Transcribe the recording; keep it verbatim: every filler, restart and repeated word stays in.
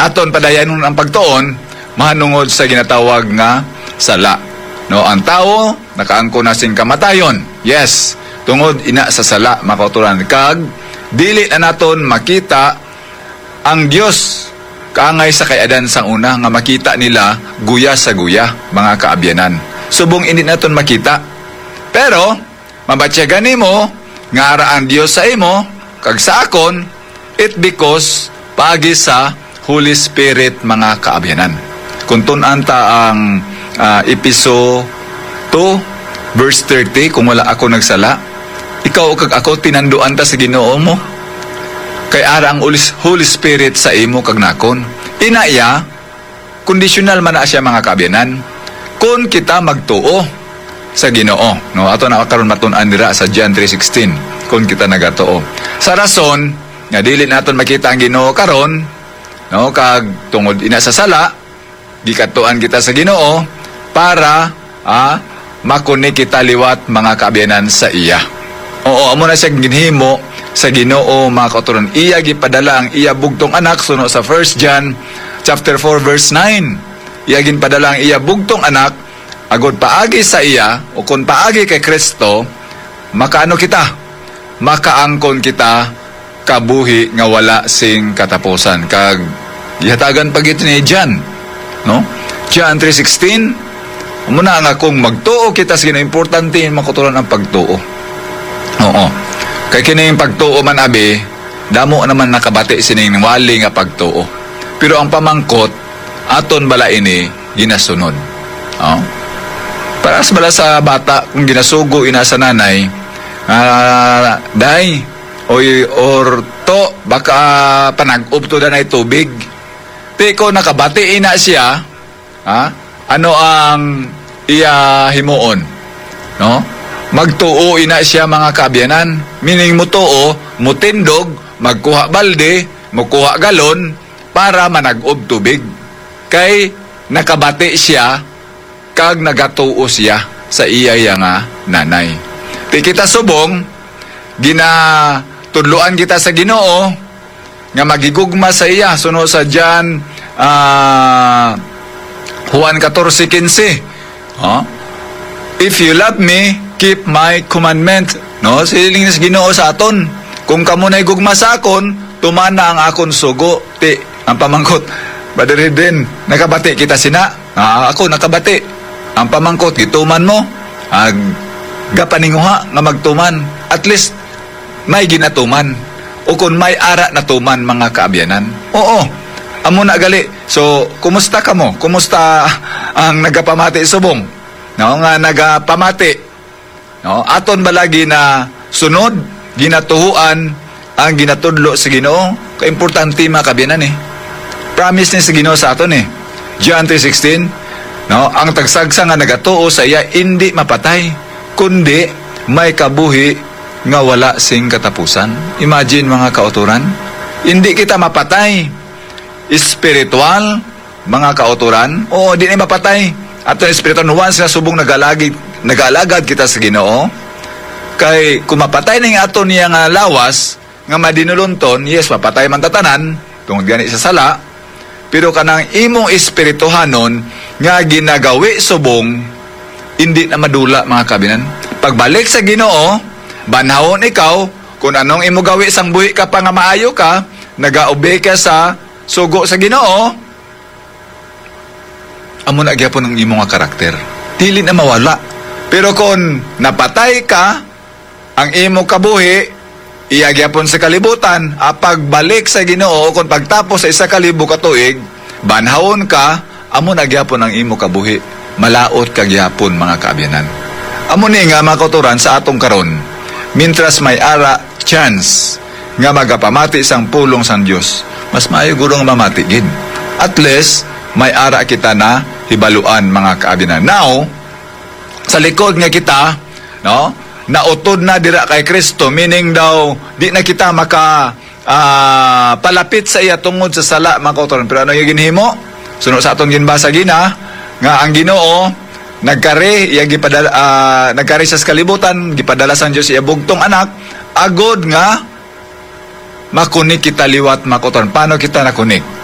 aton padayanon ang pagtuon mahanungod sa ginatawag nga sala. No, ang tawo nakaangkon na sing kamatayon. Yes, tungod ina sa sala, mga kauturan, kag dili na naton makita ang Dios kaangay sa kay Adan sang una nga makita nila guya sa guya, mga kaabyanan. Subong indi naton makita. Pero mabatyagan nimo nga ara ang Dios sa imo kag sa akon, it because paagi sa Holy Spirit, mga kaabyanan. Kung tun-an ta ang, ah, Efeso two, verse thirty, kung wala ako nagsala, ikaw kag ako tinanduan ta sa Ginoo mo. Kay ara ang Holy, Holy Spirit sa imo kag nakon. Ina iya, conditional man na siya, mga kaabyanan. Kung kita magtuo sa Ginoo, no? Ato na karon matun-an dira sa John three sixteen, kung kita nagatuo. Sa rason nga dili naton makita ang Ginoo karon, no? Kag tungod ina sa sala, gikatuan kita sa Ginoo para, ah, makuni kita liwat, mga kaabyanan, sa iya. Oo, amo na siya ginhimo sa Ginoo, mga kauturan. Iya gipadala ang iya bugtong anak, suno sa First John chapter four, verse nine. Iya ginpadala ang iya bugtong anak agod paagi sa iya, o kon paagi kay Kristo, makaano kita? Makaangkon kita kabuhi nga wala sing katapusan. Kag gihatagan pa gid ni John, no? John three sixteen, amo na nga kung magtuo kita sa Ginoo, importante, mga kauturan, ang pagtuo. Oo. Kay kining pagtuo man, abi, damo naman nakabati sining wali nga pagtuo. Pero ang pamangkot, aton bala ini ginasunod? Oh? Para sa bala sa bata, kung ginasugo ina sa nanay, ah, "Day, oy, or to, baka panag-ob to danay tubig." Ti ko nakabati ina siya, ha? Ano ang iya himuon? No? Magtuo ina siya, mga kaabyanan. Meaning, mutuo, mutindog, magkuha balde, mukuha galon para manag-ob tubig. Kay nakabati siya kag nagatuo siya sa iya, iya nga nanay. Ti kita subong, ginatudloan kita sa Ginoo nga maghigugma sa iya, suno sa John, ah, Juan fourteen quince. Oh? "If you love me, keep my commandment." No? Siling sa Ginoo sa aton, "Kung kamo nahigugma sa akon, tumana ang akon sugo." Ti, ang pamangkot, Brother Eden, nakabati kita sina? Ah, ako nakabati. Ang pamangkot, gituman mo? Ag, gapaninguha nga magtuman. At least, may ginatuman. O kung may ara natuman, mga kaabyanan. Oo. Amo na gali. So, kumusta kamo? Kumusta ang nagapamati subong? No, nga nagapamati. No? Aton ba lagi na sunod, ginatuhuan ang ginatudlo sa Ginoo? Kaimportante, mga kaabyanan, eh. Promise ni sa Ginoo sa aton, eh. John three sixteen, no? "Ang tagsagsa nga nagatuo sa iya indi mapatay, kundi may kabuhi nga wala sing katapusan." Imagine, mga kauturan, indi kita mapatay espiritual, mga kauturan. Oo, di na mapatay. Ato na espiritual, once nga subong nagalagi-, nagaalagad kita sa Ginoo. Kay kung mapatay na yung ato niya nga lawas, nga madinulunton, yes, mapatay man tatanan, tungod gani sa sala, pero kanang imong espirituhanon nga ginagawi subong, hindi na madula, mga kaabyanan. Pagbalik sa Ginoo, banhawon ikaw, kung anong imo gawi sang buhi ka pa nga maayo ka, nagaobey ka sa sugo sa Ginoo, amo na gyapon ang imo nga karakter. Dili na mawala. Pero kung napatay ka, ang imo kabuhi, iya gyapon sa kalibutan, ah, pagbalik sa Ginoo, kung pagtapos sa isa ka libo ka tuig, banhawon ka, amo na gyapon ang imo kabuhi. Malaot ka gyapon, mga kaabyanan. Amo ni nga, mga kauturan, sa atong karon, mintras may ara chance nga magapamati sang pulong sang Dios, mas maayo guro nga mamati gid. At least, may ara kita na hibaluan, mga kaabyanan. Now, sa likod nga kita, no, nautod na dira kay Kristo, meaning daw, di na kita maka, ah, palapit sa iya tungod sa sala, mga kauturan. Pero ano yung ginhimo? Suno sa atong ginbasa gina, nga ang Ginoo nagkari, iya gipadala, ah, nagkari sa kalibutan, gipadala sang Dios iya bugtong anak, agod nga makunik kita liwat, mga kauturan. Paano kita nakunik?